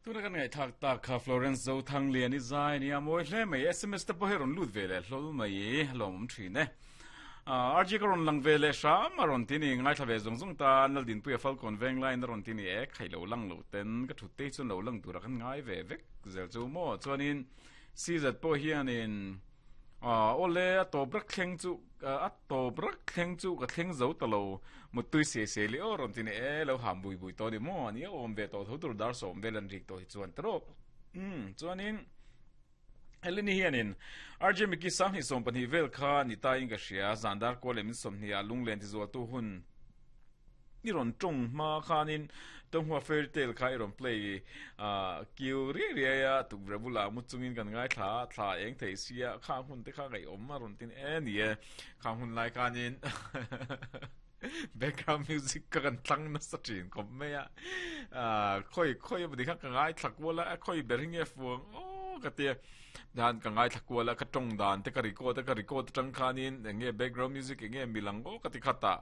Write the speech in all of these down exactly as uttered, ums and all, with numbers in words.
Tuna kan ngai thak tak kha Florence zo thang lian i zai ni a mawi hle mai S M S te pawh hi rawn lut ve leh hlol mai lawm awm thin e. R G ka rawn lang ve leh hram a rawn ti ni ngai thla ve zung zung ta nal din puia Falcon veng line a rawn ti ni e khai lo lang lo ten ka thut te chuan lo lang tura kan ngai ve vek zel chu mo chuanin C Z pawh hianin ole a tawp rak thleng chu a tawp rak thleng chu ka thleng zo ta lo mutui se se li o rawn ti ni e lo ham bui bui to ni mo ani awm ve to tho tur dar som vel an rik to hi chuan tro um chuanin Heleni hianin R J Miki sang hi som pahnih vel kha ni ta in ka hria zandar ko lem som hnia lunglen ti zual tu hun i rawn tawng hma khanin Tonghua Fairy Tale kha i rawn play a kiu ri ri a tukverh bula mu chungin kan ngai thla thla eng thei sia kha hun te kha ngai awm a rawn tin e ni e kha hun lai khanin background music ka kan tlang na sa thin khawp mai a khoi khoi a kha ka ngai thla kual a khoi ber hi nge fuang o ka tia dan ka ngai thla kual a ka tawng dan te ka record ka record tang khanin enge background music enge milang o ka ti khata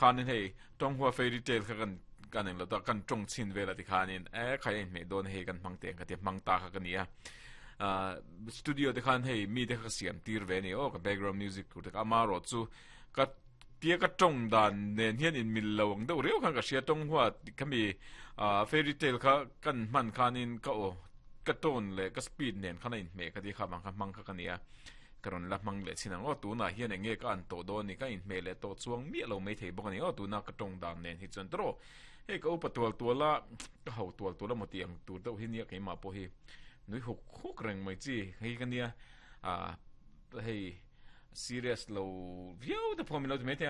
khanin hei Tonghua Fairy Tale kha kan kan eng lo ta kan tawng chin vela ti khanin e khai en me don hei kan mang te ka ti mang ta kha ka nia studio te khan hei mi te kha siam tir ve ni o ka background music tur te ama ro chu ka tia ka tawng dan nen hian in mil lo ang deuh reu khan ka hria Tonghua khami Fairy Tale kha kan hman khanin ka o ka tone le ka speed nen khana in hme ka ti kha bang kha mang kha ka nia karon la mang le chinang o tuna hian enge ka an to do ni ka in hme le to chuang mi lo mai thei bawk ani o tuna ka tawng dan nen hi chuan tro hei ka upa tual tuala ka ho tual tuala moti ang tur deuh hi nia keima pawh hi nui huk huk reng mai chi hei ka nia a hei serious lo viau te pawh min lo ti mai thei.